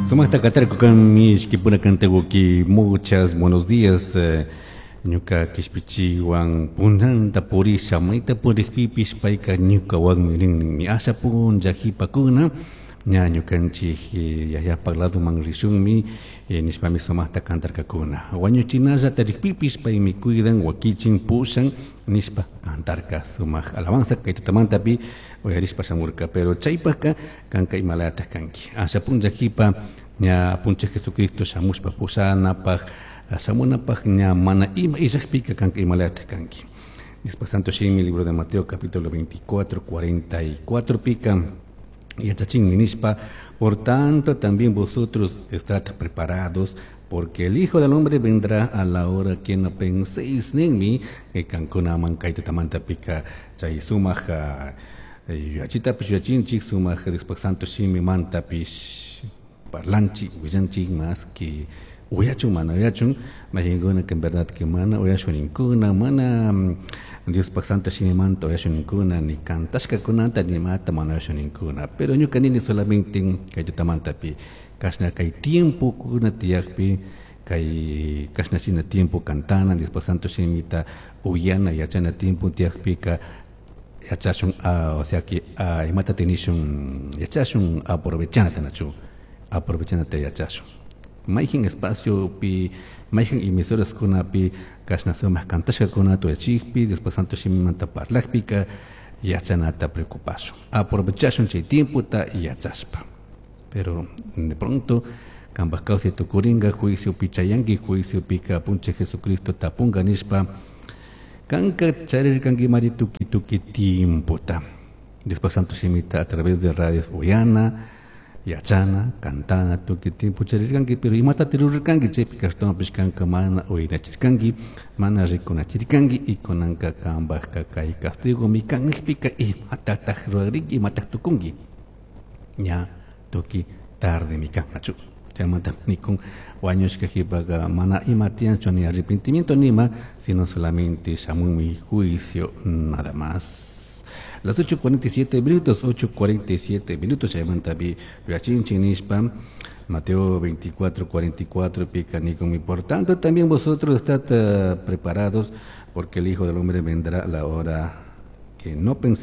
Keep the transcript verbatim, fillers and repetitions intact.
Sumaqta katarkukanmi ishkipura kantakuki muchas buenos días eh, ñuka kishpichiwan punllanta purisha mayta purikpipish payka ñukawanmi rin asha punlla qhipakuna ña ñukanchik eh, yayapak ladoman rishunmi eh, nishpami sumaqta kantarkakuna wañuchinallata rikpipish paymi cuidan wakichin pushan nishpa kantarka sumaq alabanza kay tutamantapi uyarishpa shamurka pero chaypaka kanka imalayataq kanki asha punlla qhipa ña apunchik Jesucristo shamushpa pushanapaq shamunapaq ña mana ima illakpika kanka imalayataq kanki. Después Santo Shimi, libro de Mateo capítulo veinticuatro, cuarenta y cuatro pika yachachinmi nishpa: "Por tanto, también vosotros estad preparados, porque el Hijo del Hombre vendrá a la hora que no penséis", ninmi. Kankunaman kay tutamanta pika chay sumaq yachitapish yachinchik, sumaq después Santo Shimi mantapish parlanchik, willanchik, más que uyachun mana uyachun majinkuna que en verdad que mana uyashuninkuna, mana Diospaj Santo Shimimanta uyashuninkuna, ni kantashkakunata ni imata mana uyashuninkuna. Pero ñuka nini solamente kay tutamantapi kashna kay tiempo kuna tiyakpi kay kashna shina tiempo kantana, Diospaj Santo Shimita uyana, yachana tiempo tiyakpika yachashun, o sea que imata tinishun yachashun aprovechanata nachu aprovechanata yachashun. Mayjin espaciopi, mayjin emisoras kunapi kashna sumaq kantashkakunata uyachikpi, Diospak Santo Shimimanta parlakpika yachanata preocupashun, aprovechashun chay tiempota yachashpa. Pero de pronto kanpak kawsay tukurinka, juiciopi chayanki, juiciopika apunchik Jesucristo tapunka nishpa: "Kanka charirkankimari tukuy tukuy tiempota Diospak Santo Shimita a través de radios uyana, yachana, cantana, tukuy tiempo charirkanki, pero imatata rurarkanki chaypi? Ashtawanpish kanka mana uyanachirkanki, mana rikunachirkanki y kunanka kanpakka kay castigomi kan nishpika, imatatak rurariki, imatak tukunki? Ña tukuy tardemi kan, nachu? Chaymanta nikun wañushka qhipaka mana ima tiyanchu, ni arrepentimiento ni ima, sino solamente shamunmi juicio, nada más. Las ocho cuarenta y siete minutos, ocho cuarenta y siete minutos, chaymantapi yachinchik nishpa, Mateo veinticuatro, cuarenta y cuatro, pika nikun: "Por tanto, también vosotros estad uh, preparados, porque el Hijo del Hombre vendrá a la hora que no penséis".